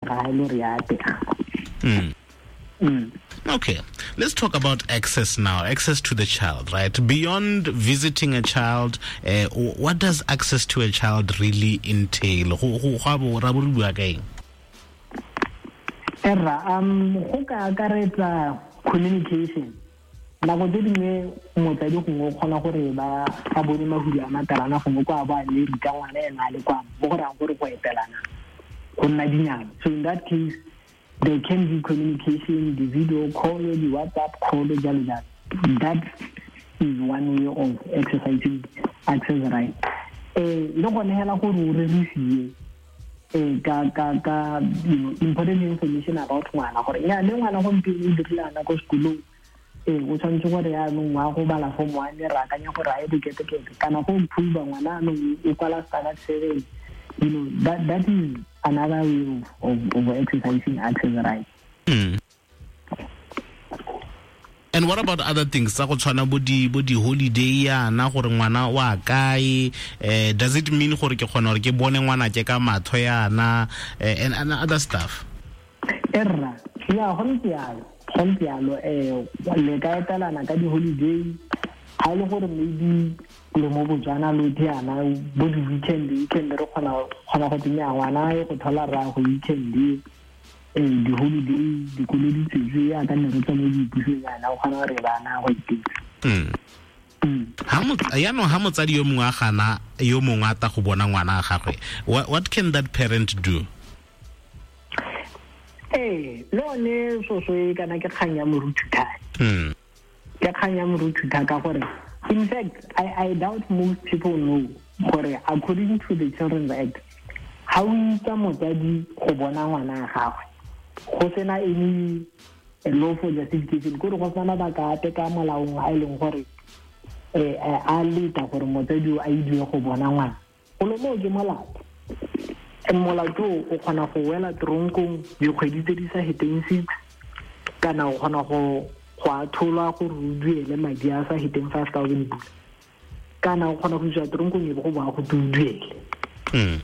Ga e le gore ya atega. Okay, let's talk about access now. Access to the child, right? Beyond visiting a child, what does access to a child really entail? Go a bo ra bo re bua ka eng? Erra, go ka akaretsa communication. Nako tse dingwe motsadi gongwe o kgona gore ba a bone mahulu a matalana, gongwe kwa bo a Amerika, ngwana ena a le kwa, mo go rayang gore go etelana go nna dinyana. So in that case there can be communication, the video call, the WhatsApp call, jalo jalo. That is one way of exercising access right. Le gone hela gore o rerisiwe ka important information about ngwana, gore nya le ngwana gompieno o dirile ana ko sekolong, o tshwanetse gore yaanong wa go bala form 1, re akanya gore a ye boketekete, kana go improve ngwana anong o kwala standard 7. That is another way of exercising access right. And what about other things? Tsa go tshwana bo di holiday yana, gore ngwana wa kae, does it mean gore ke kgona gore ke bone ngwana ke ka matho yana, and other stuff? Erra, ya go ntse yalo, go ntse yalo, le ka etelana ka di holiday, ha e le gore maybe le mo Botswana lo yana bo di weekend, weekend re kgona go tsenya ngwana e go thola ra go weekend, di holiday, dikolo di tswetswe ya ka ne re tswa mo dipusong yana, o kgona gore bana go itetse. Ha yaanong ha motsadi yo mongwe a gana yo mongwe a ta go bona ngwana a gagwe, what can that parent do? Ee, le one soso e kana ke kgang ya moruthutha. Ke kgang ya moruthutha ka gore in fact I doubt most people know gore according to the Children's Act, ha o itsa motsadi go bona ngwana a gagwe go sena any lawful justification, kore go sena mabaka ape ka molaong a e leng gore a leta gore motsadi o a idiwe go bona ngwana, golo moo ke molato. And molato o kgona go wela tronkong dikgwedi tse di sa heteng 6, kana o kgona go atholwa gore o duele madi a sa heteng 5,000 pula, kana o kgona go isiwa tronkong e be go boa go te o duele.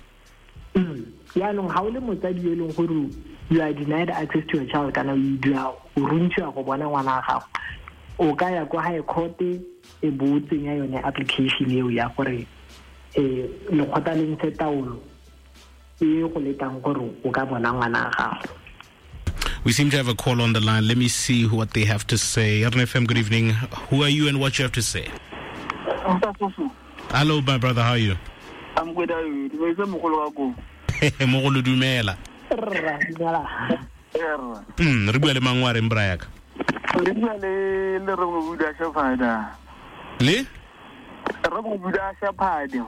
Yaanong ga o le motsadi yo e leng gore you are denied access to your child, kana o dua o runtshiwa go bona ngwana wa gago, o ka ya kwa high court e bo o tsenya yone application eo ya gore lekgotla le ntshe taolo e go letang gore o ka bona ngwana wa gago. We seem to have a call on the line. Let me see what they have to say. RNFM, good evening. Who are you and what you have to say? Hello, my brother. How are you? I'm good. How are you? Dumela mogolo wa ko. Mogolo, dumela. Rra, dumela. Erra. Re bua le mang, wa reng, bra yaka? Re bua le re mo buda Shepherd. Le? Re mo buda Shepherd.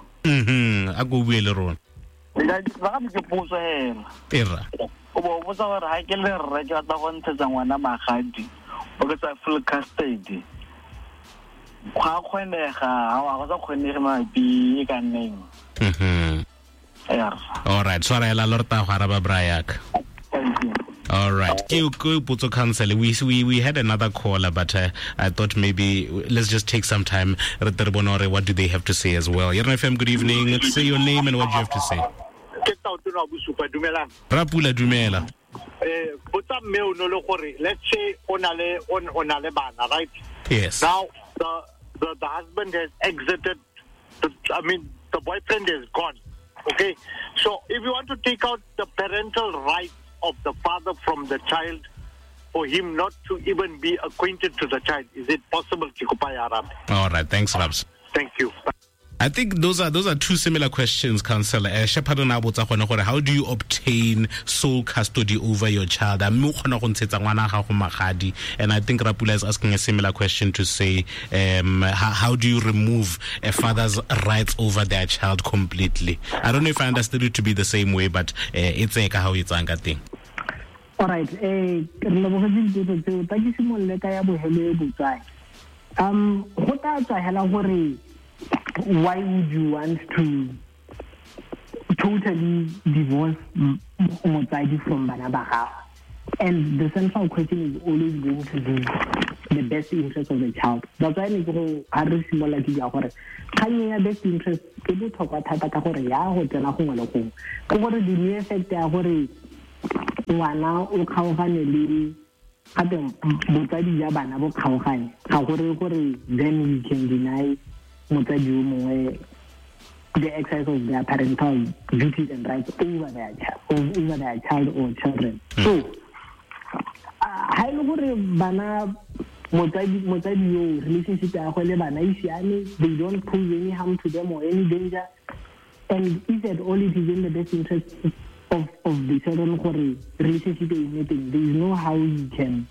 A go bue le rona. Ba ga ke potso hela. Erra. O bo botsa gore ha ke le rre ke batla go ntshetsa ngwana magadi, o ke tsa full custody. Go a kgonega, ha wa go sa kgonege mabapi e ka nneng. Erra. All right, tshwarela lo re tla go araba, bra yaka. Thank you. All right. Ke potso counsel. We had another caller, but I thought maybe let's just take some time. Re tle re bone hore what do they have to say as well. Yerna FM, good evening. Say your name and what you have to say. Ke Tautona Bosupa, dumelang. Rapula, dumela. Botsa mme o no le gore, let's say o na le bana, right? Yes. Now the husband has exited, the, I mean the boyfriend is gone. Okay? So if you want to take out the parental rights of the father from the child, for him not to even be acquainted to the child, is it possible? Ke kopa ya arabe. All right, thanks, Rabs. Thank you. I think those are two similar questions, Councillor. Shepherd o ne a botsa gone gore how do you obtain sole custody over your child? A mme o kgona go ntshetsa ngwana gago magadi? And I think Rapula is asking a similar question to say, how do you remove a father's rights over their child completely? I don't know if I understood it to be the same way, but it's a how it's ka teng. All right, re lebogetse dipotso tseo. Tla ke simolole ka ya bohelo e botswae. Go tla tswa hela gore why would you want to totally divorce motsadi from bana ba gago? And the central question is always going to be the best interest of the child. That's why ne ke go ha re simolola ke bua gore kgang ya best interest ke botlhokwa thata ka gore ya go tsena gongwe le gongwe. Ke gore the mere fact ya gore Ngwana o kgaogane le gape botsadi ja bana bo kgaogane, ga gore gore then we can deny motsadi yo mongwe the exercise of their parental duties and rights over their child or children. So ha e le gore bana motsadi yo relationship ya gagwe le bana e siame, they don't pose any harm to them or any danger, and if at all it is in the best interest of the children gore relationship e nne teng, there is no how you can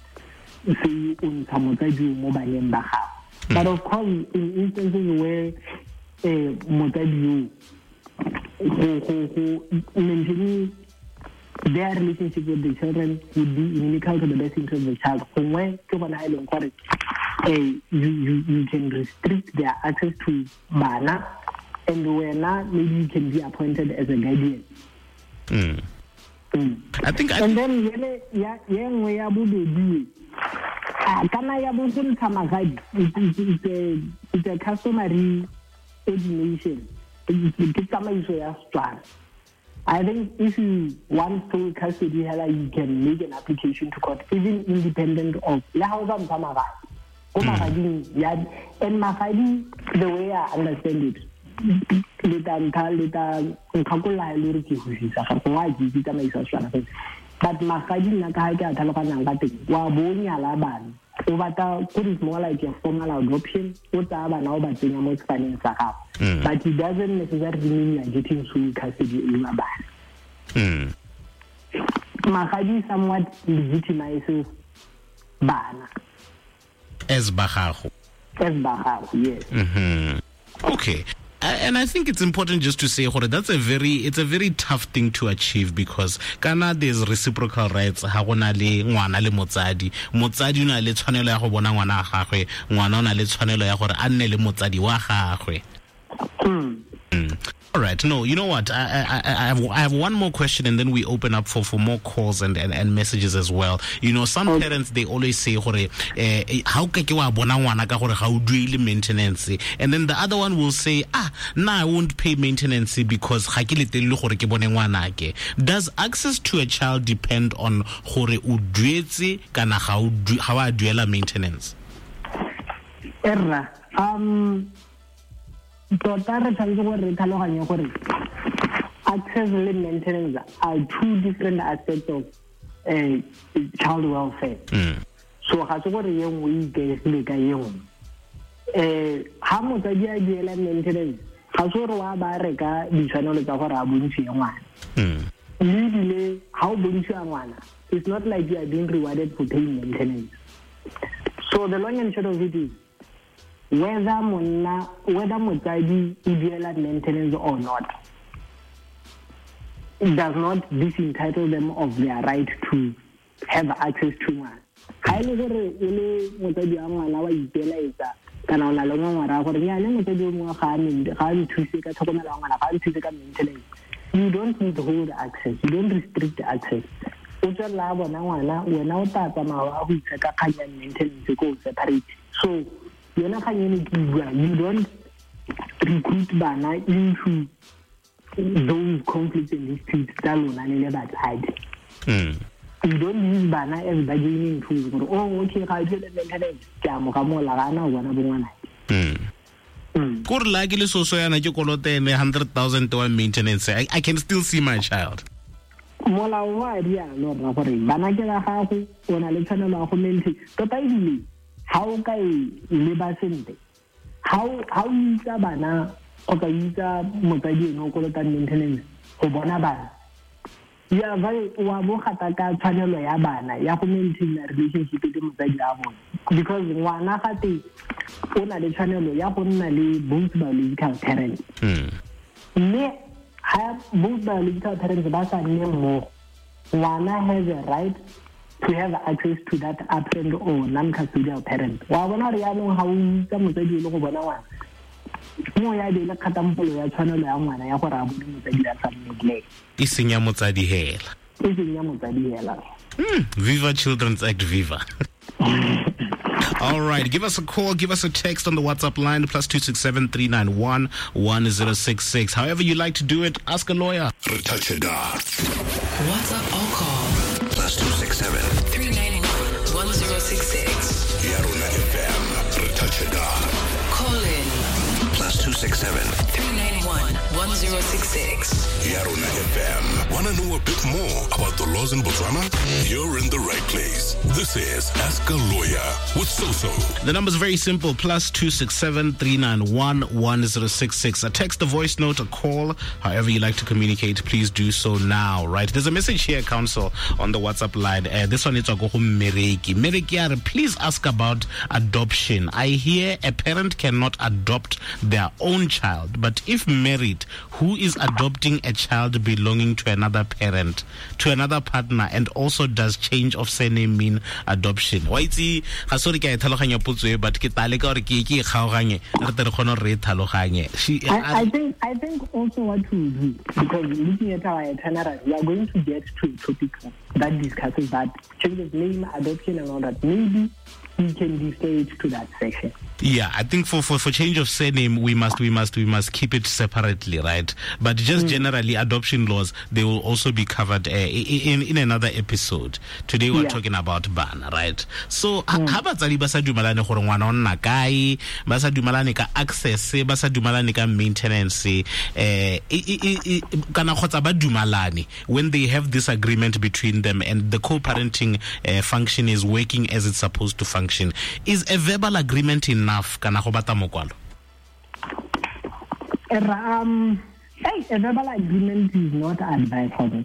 say o ntsha motsadi mo baneng ba gago. But of course, in instances where motsadi yo go maintaining their relationship with the children would be inimical to the best interest of the child, gongwe ke gona e leng gore you can restrict their access to bana, and wena maybe you can be appointed as a guardian. I think and then ya nngwe ya bobedi kana ya bo go ntsha magadi, it's a customary ordination, ke tsamaiso ya Setswana. I think if you want full custody, you can make an application to court, even independent of le ha o sa ntsha magadi. Ko magading ya, and magadi, the way I understand it, le tla nkgakolola e le gore ke hosisa ga gongwe a ke itse tsamaiso ya Setswana fela, but magadi nna ka ga ke a tlhaloganyang ka teng, wa bo o nyala bana, o batla ko it's more like a formal adoption, o tsaya bana o ba tsenya mo sefaneng sa gago. But it doesn't necessarily mean you are getting sole custody over bana. Magadi somewhat legitimizes bana as ba gago. As ba gago, yes. Okay. And I think it's important just to say gore that's a very tough thing to achieve, because kana there's reciprocal rights ha gona le ngwana le motsadi. Motsadi o na le tshwanelo ya go bona ngwana wa gagwe, ngwana o na le tshwanelo ya gore a nne le motsadi wa gagwe. All right. No, you know what? I have one more question, and then we open up for more calls and messages as well. You know, some parents, they always say, gore, how ka ke wa bona ngwana ka gore ga o duele maintenance? And then the other one will say, nah, I won't pay maintenance because ga ke letelele gore ke bone ngwanake. Does access to a child depend on gore o duetse kana ga o wa duela maintenance? Erra, tota re tshwanetse gore re tlhaloganye gore access le maintenance are two different aspects of child welfare. So ga se gore ye nngwe e ikaegile ka ye nngwe. Ha motsadi a duela maintenance, ga se gore wa ba reka ditshwanelo tsa gore a bontshiwe ngwana. Mme ebile ha o bontshiwa ngwana, it's not like you are being rewarded for paying maintenance. So the long and short of it is, whether motsadi o duela maintenance or not, it does not disentitle them of their right to have access to ngwana. Ga e le gore o le motsadi wa ngwana wa ipelaetsa kana o na le ngongora gore nnyane motsadi o mongwe ga a nthuse ka tlhokomelo ya ngwana, ga a nthuse ka maintenance, you don't withhold access, you don't restrict access. O tswelela a bona ngwana, wena o tla tsamaya wa go itse ka kgang ya maintenance ko separate. So yona kgang eno ke bua, you don't recruit bana into those conflicts and disputes tsa lona le le batsadi. You don't use bana as bargaining tools gore, oh, okay, ga duele maintenance, ke a mo gamola, ga ana o bona bongwana. Kore la ke le soso yana ke kolote ene 100,000 wa maintenance, I can still see my child. Molao wa rialo rra gore bana ke ba gago, o na le tshwanelo ya go maintain. Tota ebile ha o ka e leba sentle, ha o itsa bana kgotsa itsa motsadi ene o kolotang maintenance go bona bana, ya wa bo gata ka tshwanelo ya bana ya go maintain relationship le motsadi wa bone, because ngwana gate o na le tshwanelo ya go nna le both biological parents. Mme ha both biological parents ba sa nne mmogo, ngwana has a right to have access to that absent or non-custodial parent. Wa bona gore yaanong ga o itsa motsadi o le go bona ngwana, mo ya be le kgatampolo ya tshwanelo ya ngwana ya gore a bone motsadi a sa nne. E seng ya motsadi hela. E seng ya motsadi hela. Viva Children's Act, viva. All right, give us a call, give us a text on the WhatsApp line, +267 391 1066. However you like to do it, ask a lawyer. WhatsApp or call 1066. Yarona FM, re touch it down. Call in +267 391 1066. Yarona FM. Want to know a bit more about the laws in Botswana? You're in the right place. This is Ask a Lawyer with Soso. The number's very simple, +267 391 1066. A text, a voice note, a call, however you like to communicate, please do so now, right? There's a message here, Counsel, on the WhatsApp line. This one is Mereki. Mereki, please ask about adoption. I hear a parent cannot adopt their own child, but if married, who is adopting a child belonging to another parent, to another partner, and also does change of surname mean adoption? Wa itse ga sorry ke a e tlhaloganya potso e, but ke tla leka gore ke e kgaoganye re tle re kgone gore re e tlhaloganye. I think also what we do, because looking at our itinerary, we are going to get to a topic that discusses that change of name, adoption, and all that. Maybe we can defer it to that section. Yeah, I think for change of surname, we must keep it separately, right? But just generally, adoption laws, they will also be covered in another episode. Today we're talking about bana, right? So, ha batsadi ba sa dumalane gore ngwana o nna kae, ba sa dumalane ka access, ba sa dumalane ka maintenance, kana kgotsa ba dumalane when they have this agreement between them and the co-parenting function is working as it's supposed to function. Is a verbal agreement enough kana go batla mokwalo? A verbal agreement is not advisable.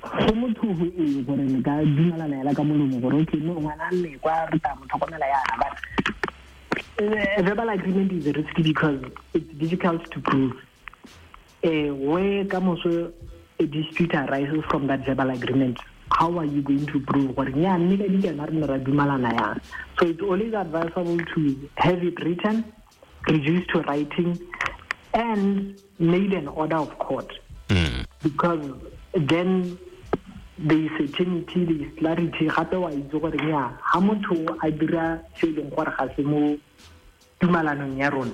Go motho go e gore le ka dumalana ela ka molomo gore okay no ngwana nne kwa re tla mo tlhokomela yana, but a verbal agreement is risky because it's difficult to prove. Where ka moso a dispute arises from that verbal agreement, how are you going to prove gore nya mme ka dikana re ne ra dumalana yang? So it's always advisable to have it written, reduced to writing, and made an order of court. Because then there is certainty, there is clarity. Gape wa itse gore nya ha motho a dira se leng gore ga se mo tumalanong ya rona,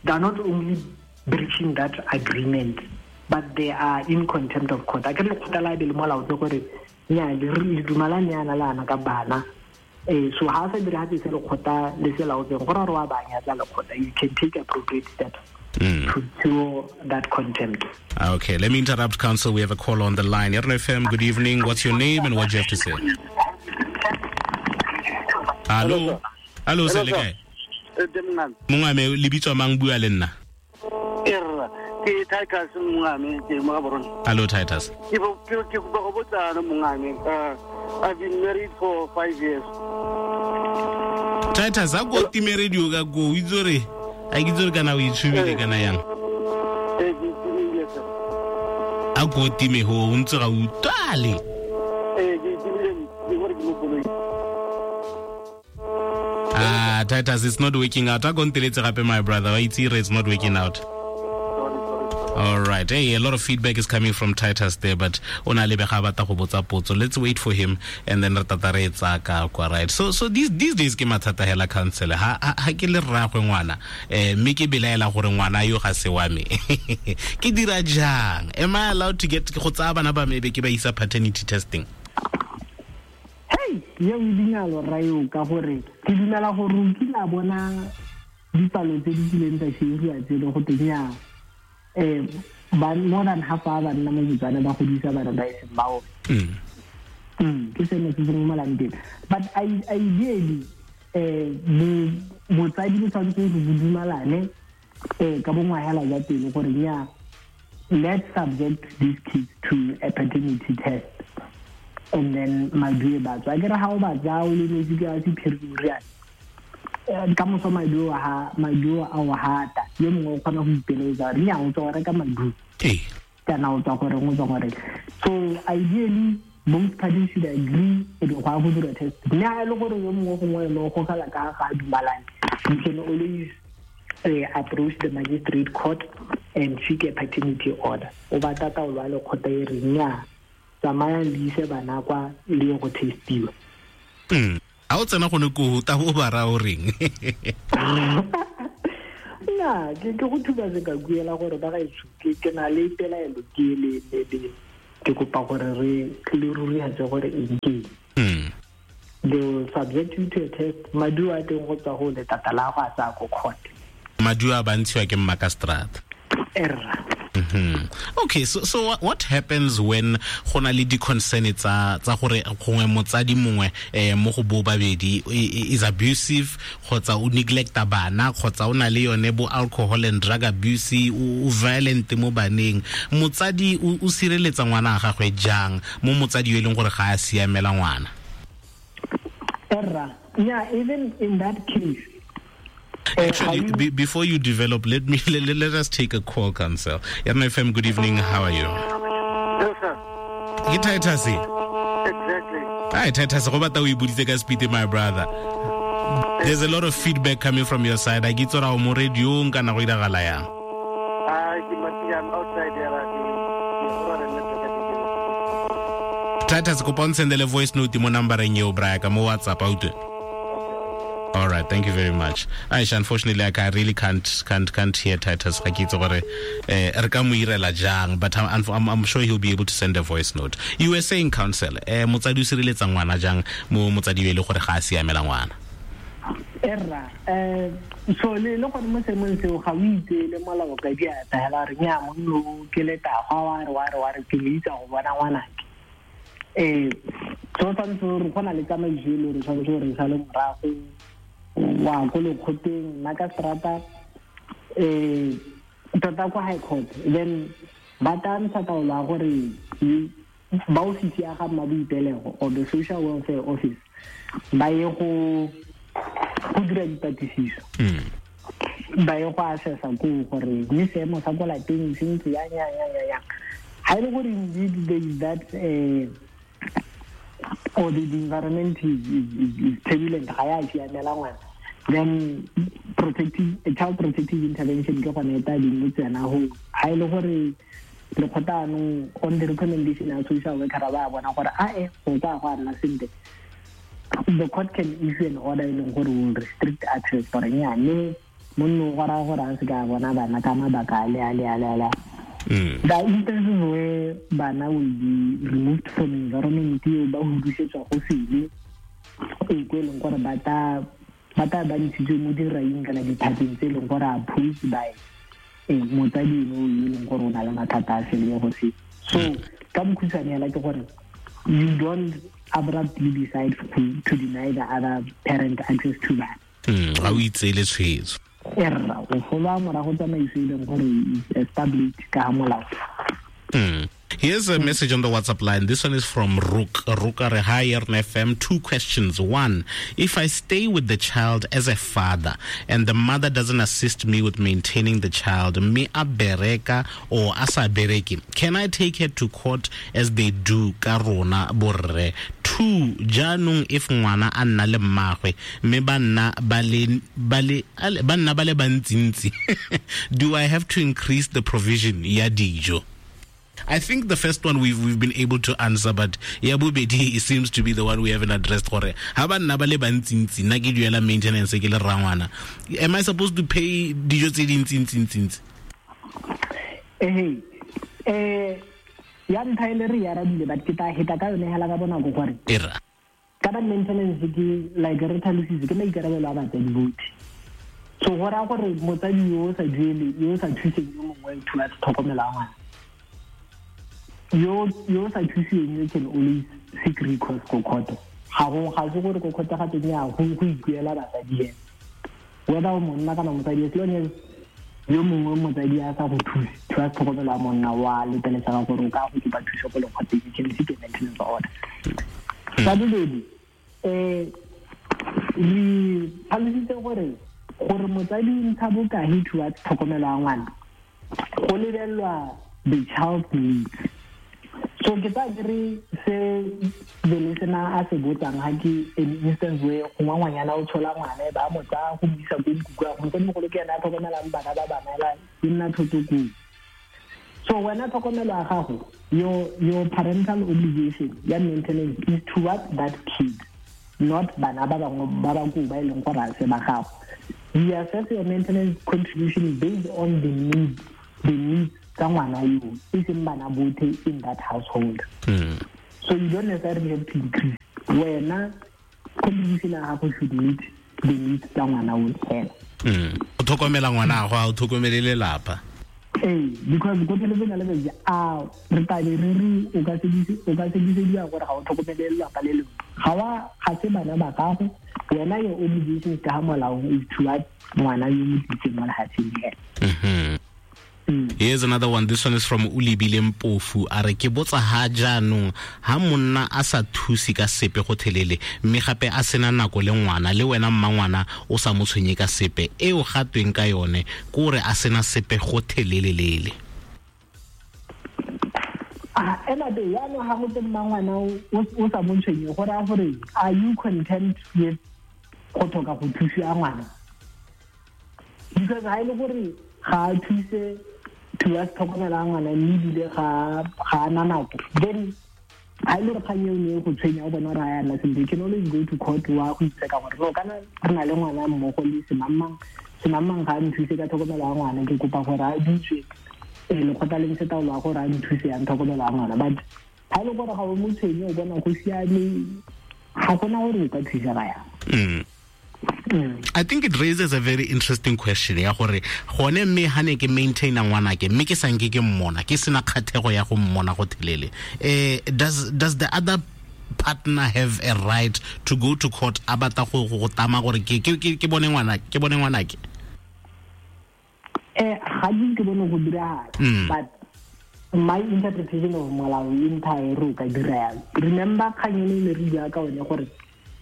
they are not only breaching that agreement, but they are in contempt of court. A ke le lekgotla la be le molaotse gore nya le dumalane yana le ana ka bana. So ha sa dira se lekgotla le se laotseng gore re wa ba nyatsa lekgotla, you can take appropriate steps to cure that contempt. Okay, let me interrupt, Counsel. We have a call on the line. Yarona FM, good evening. What's your name and what do you have to say? Hello. Hello, sir. Mongame, le bitswa mang, bua le nna? Ke Titus mongame, ke mo Gaborone. Hello, Titus. Ke go botsa mongame. I've been married for 5 years. Titus, a go time radio ka go itse re a ke itse kana o itshubile kana yang. A go time ho o ntse ga utlwale. Ke timile ke gore ke mo koloi. Titus, it's not working out. A go nteletse gape, my brother. Wa itse re it's not working out. All right. Hey, a lot of feedback is coming from Titus there, but ona lebega batla go botsa potso. Let's wait for him and then re tata re etsa ka kwa, right? So these days ke mathata hela, counsel. Ha ke le rraagwe ngwana, mme ke belaela gore ngwana yo ga se wa me. Ke dira jang? Am I allowed to get go tsaya bana ba me be ke ba isa paternity testing? Hey, ye o dinalo rayo ka gore ke dumela gore o kila bona dipalo tse di kileng tsa shiriwa tse le go tenya more than half a banna mo Botswana ba godisa bana ba e seng ba bone. Ke seno se se mo malanteng. But ideally, botsadi bo tshwanetse go dumalane ka bongwe hela jwa pele gore nya let's subject these kids to a paternity test and then maduo ba tswa. Ke re ha o ba tsaya o le metsi ka sephiri o riana ka moso maduo a o hata yo mongwe o kgona go ipeletsa re nya o tswa go reka maduo kana o tswa gore o tswa gore. So ideally both parties should agree e go go dira test. Mme ha e le gore yo mongwe gongwe ene o gogela ka ga a dumalane, you can always approach the magistrate court and seek a paternity order. O batla taolo ya lekgotla e reng nya tsamayang le ise bana kwa le go testiwa. A o tsena gone ko ta bo ba ra o reng? Nna ke go thuba se ka kuela gore ba ga itse ke na le pelaelo ke le ke kopa gore re le rurihatse gore eng ke. They will subject you to a test. Maduo a teng go tswa go letata la go a tsaya ko court. Maduo a bantshiwa ke mmakastrata. Erra. Okay, so what happens when go na le di-concern tsa gore gongwe motsadi mongwe mo go bo babedi is abusive, kgotsa o neglecta bana, kgotsa o na le yone bo alcohol and drug abuse, o violent mo baneng? Motsadi o sireletsa ngwana a gagwe jang mo motsadi yo e leng gore ga a siamela ngwana? Erra, yeah, even in that case. Actually, before you develop, let us take a call, Counsel. FM, good evening. How are you? Yes, sir. Ke Titus. Exactly. Hi, Titus. Go batla o ibuditse ka speed, my brother. There's a lot of feedback coming from your side. I get tsora o mo radio kana go iragala yang? I'm outside there. Titus, kopa o nsendele voice note mo numbereng eo, braya, mo WhatsApp out. All right, thank you very much. Aisha, unfortunately, I really can't hear Titus. Ga ke itse gore re ka mo irela jang, but I'm sure he'll be able to send a voice note. You were saying, Counsel, motsadi o sireletsa ngwana jang mo motsadi yo e le gore ga a siamela ngwana? Erra, so le gone mo seemong seo ga o itse le molao ka diatla hela re nya monno ke letagwa wa re ke le itsa go bona ngwanake. So tshwanetse gore go na le tsamaiso e le gore tshwanetse gore sa le morago wa ko lekgoteng makastrata tota kwa high court, then ba tla ntsha taolo ya gore ba ofisi ya ga mmaboipelego or the social welfare office ba ye go dira dipatlisiso, ba ye go assessa koo gore mme seemo sa ko lapeng se ntse yang. Ha e le gore indeed there is that or the environment is turbulent, ga ya siamela ngwana, then child protective intervention ke gone e tla ding tsena go. Ha e le gore lekgotla anong on the recommendation ya social worker ba bona gore a go ka go nna sentle, the court can issue an order e leng gore will restrict access gore nyane monno go raya gore a se ka bona bana ka mabaka a le. The instances where bana will be removed from environment eo ba hudusetswa go sele e ko e leng gore ba tla ba ntshitswe mo diraing kana dithateng tse e leng gore opposed by motsadi eno e leng gore o na le mathata a sele go se. So ka bokhutshwane hela ke gore you don't abruptly decide to deny the other parent access to that. Ga o itseele tshwetso. Erra, o followa morago tsamaiso e leng gore established ka molao. Here's a message on the WhatsApp line. This one is from Rook. Rook, hi, FM. 2 questions. 1, if I stay with the child as a father and the mother doesn't assist me with maintaining the child, me a bereka or asa bereki, can I take her to court as they do ka rona borre? 2, jaanong if ngwana a nna le mmagwe mme ba nna ba le bantsintsi, do I have to increase the provision ya dijo? I think the first one we've been able to answer, but ya bobedi seems to be the one we haven't addressed. Gore ha ba nna ba le bantsintsi, nna ke duela maintenance ke le rrangwana, am I supposed to pay dijo tse dintsintsi? Ya ntlha e le re arabile, but ke tla heta ka yone hela ka bonako gore era ka ba maintenance ke like re tlhalositse ke maikarabelo a batsadi botlhe. So go raya gore motsadi yo o sa duele, yo o sa thuseng yo mongwe towards tlhokomelo ya ngwana, yo sa thuseng you can always seek recourse ko court. Ga se gore ko court ga teng ya go ikuela batsadi ena, whether o monna kana motsadi, as long as yo mongwe motsadi a sa go thuse towards tlhokomelo ya monna wa letelesega gore o ka go kopa thuso ko lekgoteng, you can seek a maintenance order. Sa bobedi, re tlhalositse gore motsadi o ntsha bokae towards tlhokomelo ya ngwana, go lebelelwa the child's needs. So ke tla re se the listener a se botsang ha ke an instance where gongwe ngwanyana o tshola ngwana ba mo tsaya go mo isa ko nkuku ya go mogolo ke ena a tlhokomelang bana ba bana e nna thoto koo. So wena tlhokomelo ya gago, your parental obligation ya maintenance is towards that kid, not bana ba bangwe ba ba koo ba e leng gore a se ba gago. You assess your maintenance contribution based on the needs tsa ngwana yo, e seng bana botlhe in that household. So you don't necessarily have to increase. Wena Contribution ya gago should meet the needs tsa ngwana o fela. O tlhokomela ngwana gago, a o tlhokomele lelapa. Ee, because ko pheletsong ya letsatsi a re tlabe re re o ka sekisediwa gore ga o tlhokomele lelapa le lengwe. Ga se bana ba gago, wena your obligations ka ga molaong is towards ngwana yo mo tlisitseng mo lefatsheng fela. Here's another one. This one is from Ulibile Mpofu. A re ke botsa ha jaanong ha monna a sa thuse ka sepe go thelele, mme gape a sena nako le ngwana, le wena mma ngwana o sa mo tshwenye ka sepe, eo ga tweng ka yone kore a sena sepe go thelelelele. Ena be yaanong ga go te mma ngwana o sa mo tshwenye, go raya gore are you content with go tlhoka go thusiwa ngwana? Because ha e le gore ga a thuse towards tlhokomelo ya ngwana, mme ebile ga a na nako, then ha e le gore kgang eo ne e go tshwenya, o bona gore a yana sentle, you can always go to court wa go itseka gore no, kana re na le ngwana mmogo le semangmang, semangmang ga a nthuse ka tlhokomelo ya ngwana, ke kopa gore a bitswe lekgotla le ntshe taolo ya gore a nthuse yang tlhokomelo ya ngwana. But ha e le gore ga o mo tshwenye, o bona go siame, ga gona gore o ka thusega yang. I think it raises a very interesting question ya gore gone mme ha ne ke maintaina ngwanake, mme ke sanke ke mmona, ke sena kgathego ya go mmona go thelele, does the other partner have a right to go to court a batla go tama gore ke bone ngwana, ke bone ngwanake? Ga ke bone go diragala, but my interpretation of molao e ntha re o ka dira yalo. Remember kgang eno ne re bua ka one gore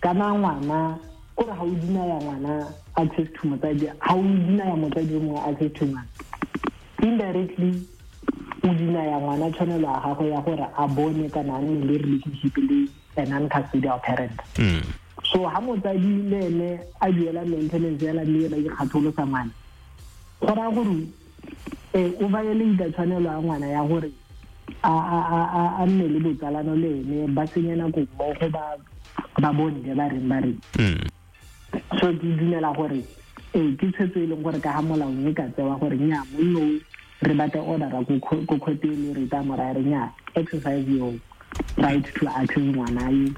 kana ngwana kore ga o dinaya ngwana access to motsadi, ga o dinaya motsadi o mongwe access to ngwana, indirectly o dinaya ngwana tshwanelo ya gagwe ya gore a bone kana a nne le relationship le a non-custodial parent. So ha motsadi le ene a duela maintenance yala mme ba ikgatholosa ngwana, go raya gore o violate tshwanelo ya ngwana ya gore a nne le botsalano le ene, ba senye nako mmogo, ba bone ba reng ba reng. So ke dumela gore ke tshwetso e leng gore ka ga molaong e ka tsewa gore nnyaa, monno re batla order ko court e re tla moraya re nnyaa, exercise your right to access ngwana yo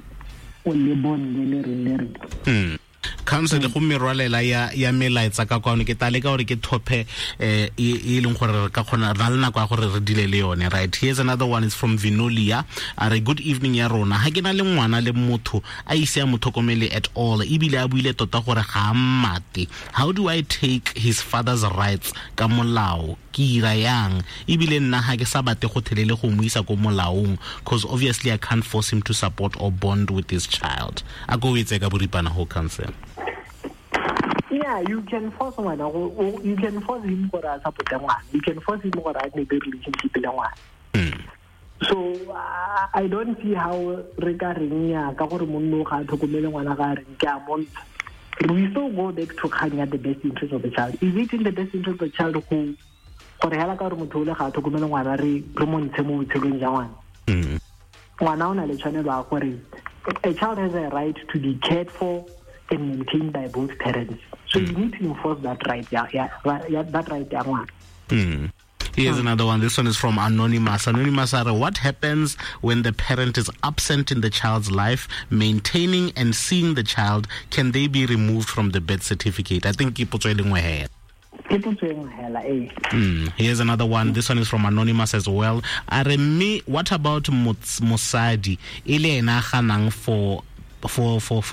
o le bone le reng le reng. Council go merwalela ya melaetsa ka kwano, ke tla leka gore ke thophe e leng gore re ka kgona re na le nako ya gore re dile le yone. Right, here's another one, is from Vinolia. A re good evening ya rona, ha ke na le ngwana le motho a ise a mo tlhokomele at all, ebile a buile tota gore ga a mmate, how do I take his father's rights ka molao? Ke ira yang? Ebile nna ha ke sa batle go thelele go mo isa ko molaong, cause obviously I can't force him to support or bond with his child. A ko etse ka boripana ho council. Yeah, you can force ngwana, you can force him gore a support ngwana, you can force him gore a nne le relationship le ngwana. So I don't see how re ka reng ya ka gore monno ga a tlhokomele ngwana ga a reng ke a montsha. We still go back to kgang ya the best interest of the child. Is it in the best interest of the child go gore hela ka gore motho ole ga a tlhokomele ngwana re mo ntshe mo botshelong jwa ngwana? Ngwana o na le tshwanelo ya gore a child has a right to be cared for and maintained by both parents. So you need to enforce that right, that right ya ngwana. Here's another one. This one is from Anonymous. Anonymous, what happens when the parent is absent in the child's life, maintaining and seeing the child? Can they be removed from the birth certificate? I think ke potso e le nngwe hela. Here's another one. This one is from Anonymous as well. A re mme, what about mosadi e le ena a ganang for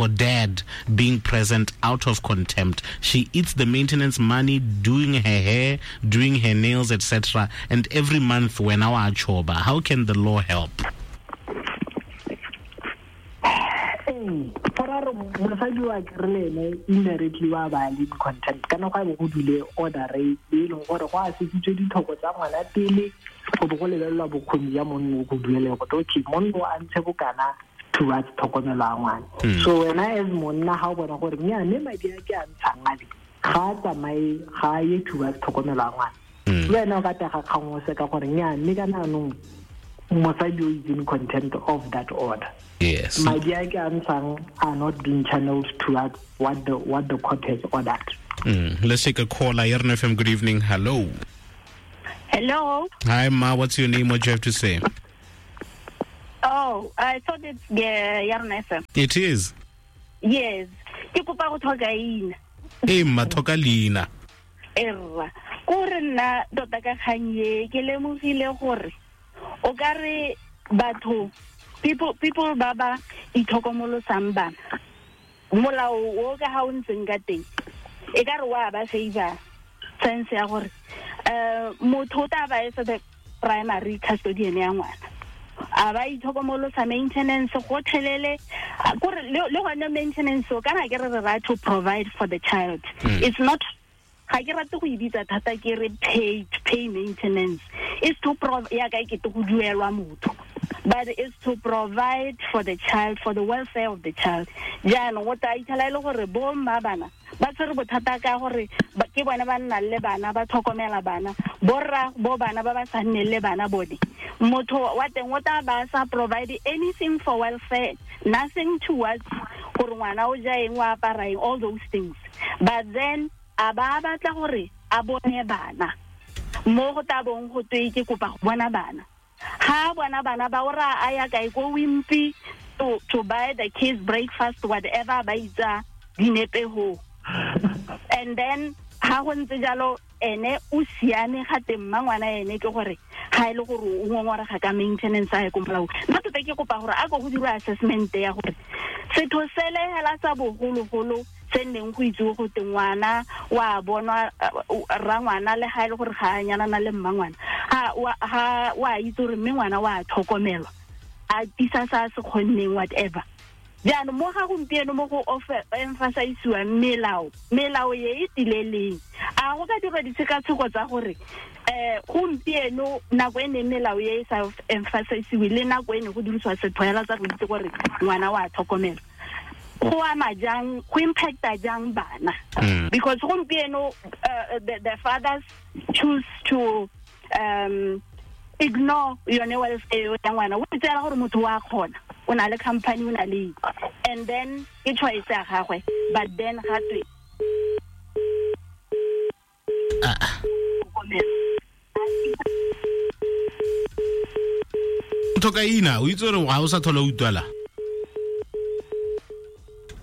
dad being present out of contempt? She eats the maintenance money, doing her hair, doing her nails, etc. And every month when our choba, how can the law help? Mosadi wa kere le ene indirectly wa ba le contempt kana go a bo go dule order e leng gore go a sesitswe ditlhoko tsa ngwana pele go bo go lebelelwa bokgoni ya monno go duele go okay monno a ntshe bokana towards tlhokomelo ya ngwana. So wena as monna ga o bona gore nya mme madi a ke a ntshang ale ga a tsamaye ga a ye towards tlhokomelo ya ngwana, le wena o ka tega kgang o seka gore nya mme ka naanong mosadi o is in contempt of that order. Yes. Madi a ke a ntshang are not being channeled towards what the court has ordered. Let's take a caller. Yerno FM, good evening. Hello. Hello. Hi, Ma. What's your name? What do you have to say? Oh, I thought it's the Yarn FM. It is. Yes, ke kopa go tlhoka ina. Ee mma, tlhoka leina. Erra, ko re nna tota ka kgang e ke lemogile gore o ka re batho people ba ba itlhokomolosang bana, molao o ka ga o ntseng ka teng e ka re wa ba favor sense ya gore motho o tla ba e se the primary custodian ya ngwana, a ba itlhokomolosa maintenance gotlhelele, kore le gone maintenance o kana ke re re to provide for the child. It's not, ga ke rate go e bitsa thata ke re pay maintenance, is to ya ka ke go duelwa motho, but it's to provide for the child, for the welfare of the child. Jaanong o tla itlhela e le gore bo mma bana ba tshwere bothata ka gore ke bone ba nnang le bana, ba tlhokomela bana, borra bo bana ba ba sa nneng le bana bone, motho wa teng o tla ba sa provide anything for welfare, nothing towards gore ngwana o ja eng, o apara eng, all those things. But then a ba batla gore a bone bana, mo go tla bong go twe ke kopa go bona bana. Ha bona bana ba ora a ya kae ko Wimpy to buy the kids breakfast, whatever ba itsa dinepe ho. And then ha go ntse jalo ene o siame ga teng mma ngwana ene ke gore ga e le gore o ngongorega ka maintenance a ye ko molao. Nna tota ke kopa gore a ko go dirwa assessment ya gore setho sele hela sa bogologolo se nneng go itse go te ngwana wa bonwa ra ngwana le ga e le gore ga a nyalana le mma ngwana, ha wa itse gore mme ngwana wa tlhokomelwa, a tisa sa se kgonneng whatever. Jaanong mo ga gompieno mo go emphasisiwang melao e e tileleng, a go ka dirwa ditshekatsheko tsa gore gompieno nako e neng melao e e sa emphasisiwe le nako e ne go dirisiwa setho hela tsa go itse gore ngwana wa tlhokomelwa, go ama jang, go impacta jang bana? Because gompieno the fathers choose to ignore yone welfare ya ngwana, o itseela gore motho wa kgona, o na le company, o na le, and then ke choice ya gagwe, but then ga twe thoka ina o itse gore ga o sa tlhola o utlwala.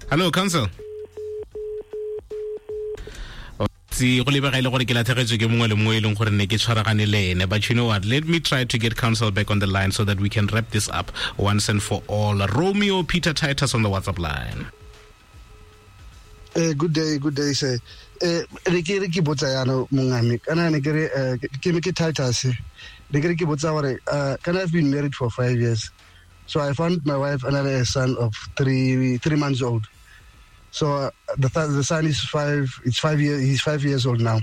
Hello, council. Go lebega e le gore ke latlhegetswe ke mongwe le mongwe e leng gore ne ke tshwaragane le ene. But you know what, let me try to get council back on the line so that we can wrap this up once and for all. Romeo Peter Titus on the WhatsApp line. Good day, sir. Re ke botsa yana mongame, kana ne ke re ke Titus, ne ke re ke botsa gore kana I've been married for 5 years. So I found my wife another son of three months old. So the son is 5. It's 5 years. He's 5 years old now.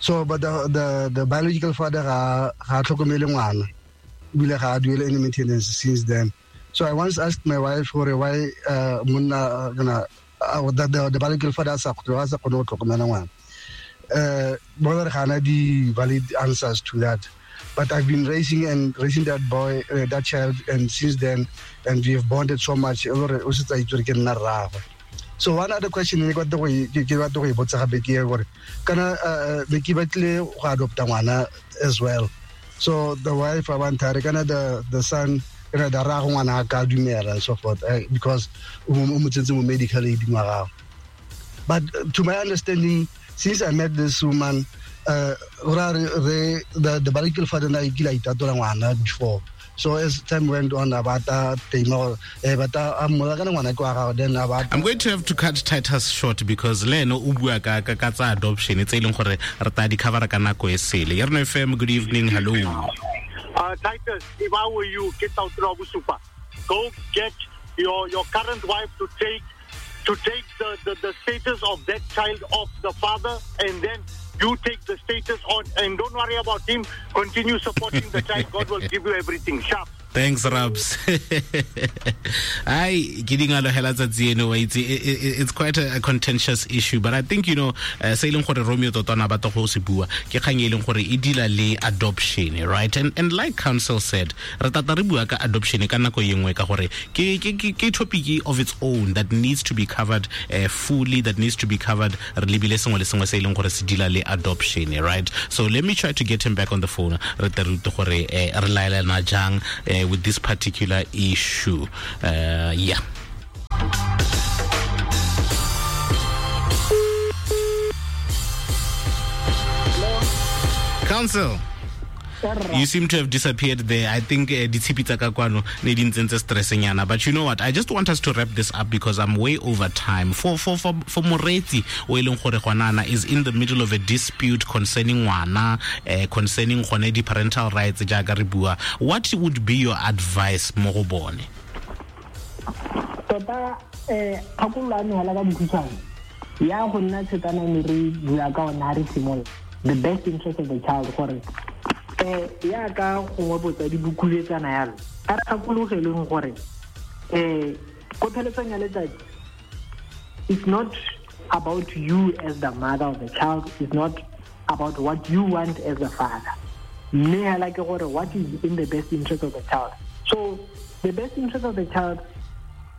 So, but the biological father ga tlhokomele ngwana, ebile ga a duele any maintenance since then. So I once asked my wife gore why monna kana the biological father sa kgone go tlhokomela ngwana. Brother ga ana di valid answers to that. But I've been raising that boy, that child, and since then, and we have bonded so much. So one other question ne ke batla go e botsa gape ke gore kana ne ke batle go adopta ngwana as well. So the wife a bantare kana the son kana da ra go ngwana a ka dumela and so forth, because o mo tsentse mo medical aid ngwa gago. But to my understanding, since I met this woman, the biological father na ikile a itatola ngwana before. So as time went on, I'm going to have to cut Titus short because le no o bua ka tsa adoption tse e leng gore re tla di cover ka nako e sele. Yerno FM, good evening, hello. Titus, if I were you, get out Bosupa. Go get your current wife to take the status of that child off the father, and then you take the status on, and don't worry about him. Continue supporting the child. God will give you everything. Sharp. Thanks, Rabs. Ai, ke dingalo hela tsatsi eno wa itse, it's quite a contentious issue, but I think, you know, se e leng gore Romeo tota na batla go se bua ke kgang e leng gore e deala le adoption, right? And like council said, re tata re bua ka adoption ka nako e nngwe ka gore ke topic of its own that needs to be covered fully, that needs to be covered re lebile sengwe le sengwe se e leng gore se deala le adoption, right? So let me try to get him back on the phone re tle re utlwe gore re laelana jang with this particular issue. Yeah. Counsel, you seem to have disappeared there. I think ditshipi tsa ka kwano ne di ntsentse stressnyana. But you know what? I just want us to wrap this up because I'm way over time. For moreetsi o e leng gore gwanana is in the middle of a dispute concerning ngwana, concerning gone di parental rights jaaka re bua. What would be your advice mo go bone? Tota kgakololo ya me hela ka bokhutshwane ya go nna tshetana ne re bua ka ona re simolola the best interest of the child gore ya ka gongwe botsadi bo kuletsana yalo a re gakologeleng gore ko pheletsong ya letsatsi it's not about you as the mother of the child, it's not about what you want as the father, mme hela ke gore what is in the best interest of the child. So the best interest of the child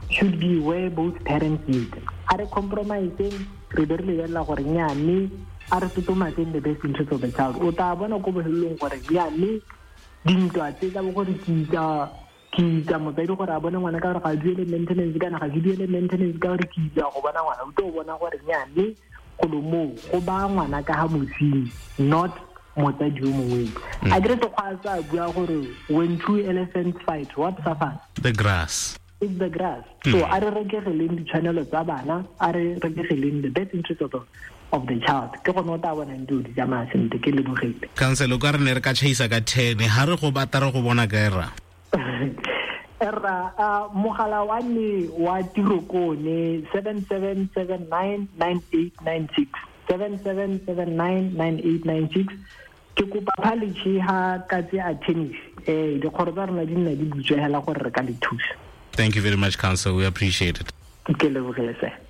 should be where both parents meet. A re compromiseng re be re lebelela gore nnyaa mme a re totomatseng the best interest of the child. O tla bona ko bofelelong gore nnyaa mme dintwa tse tsa bo gore ke itsa motsadi gore a bone ngwana ka gore ga duele maintenance kana ga ke duele maintenance ka gore ke itsa go bona ngwana, o tlo bona gore nnyaa mme golo moo go ba ngwana ka ga mosenyi, not motsadi yo mongwe. A kere sekgwa sa bua gore when two elephants fight, what suffers? The grass. It's the grass. So a re rekegeleng ditshwanelo tsa bana, a re rekegeleng the best interest of the child. Ke gone o tla bonang dilo di tsamaya sentle. Ke lebogile. Counsel, o ka re ne re ka tšhaisa ka 10 ha re go batla re go bona kae ra? Erra, mogala wa me wa tiro ko ne 77799896 77799896. Ke kopa phalishi ha ka tse a tennis. Dikgoro tsa rona di nna di butswe hela gore re ka le thusa. Thank you very much, Counsel. We appreciate it.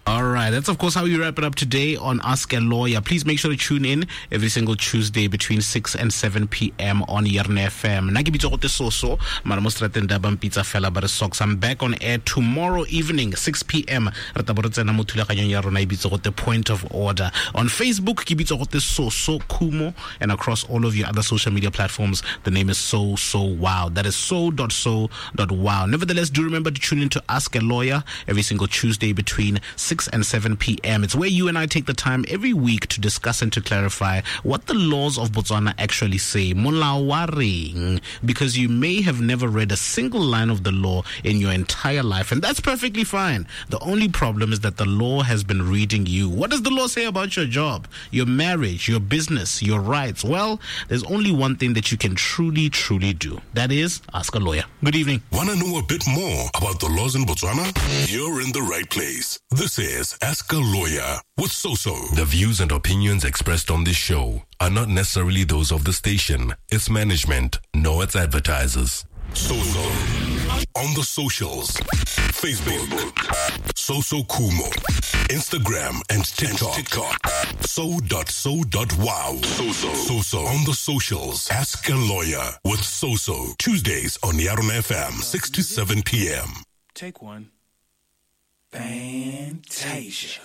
All right. That's, of course, how we wrap it up today on Ask a Lawyer. Please make sure to tune in every single Tuesday between 6 and 7 p.m. on Yarona FM. Nna ke bitso gote Soso, mara mo strateng da bampitsa fela ba re socks. I'm back on air tomorrow evening, 6 p.m. Re tla bo re tsena mo thulaganyong ya rona e bitso gote Point of Order. On Facebook, ke bitso gote Soso Khumo, and across all of your other social media platforms, the name is So So Wow. That is so.so.wow. Nevertheless, do remember to tune in to Ask a Lawyer every single Tuesday between 6 and 7 p.m. It's where you and I take the time every week to discuss and to clarify what the laws of Botswana actually say. Molao wa reng? Because you may have never read a single line of the law in your entire life, and that's perfectly fine. The only problem is that the law has been reading you. What does the law say about your job, your marriage, your business, your rights? Well, there's only one thing that you can truly, truly do. That is, ask a lawyer. Good evening. Want to know a bit more about the laws in Botswana? You're in the right place. This is Ask a Lawyer with Soso. The views and opinions expressed on this show are not necessarily those of the station, its management, nor its advertisers. Soso. On the socials. Facebook. Soso Khumo. Instagram and TikTok. So.so.wow. Soso. Soso. On the socials. Ask a Lawyer with Soso. Tuesdays on Yarona FM, 6 to 7 p.m. Take one. Fantasia.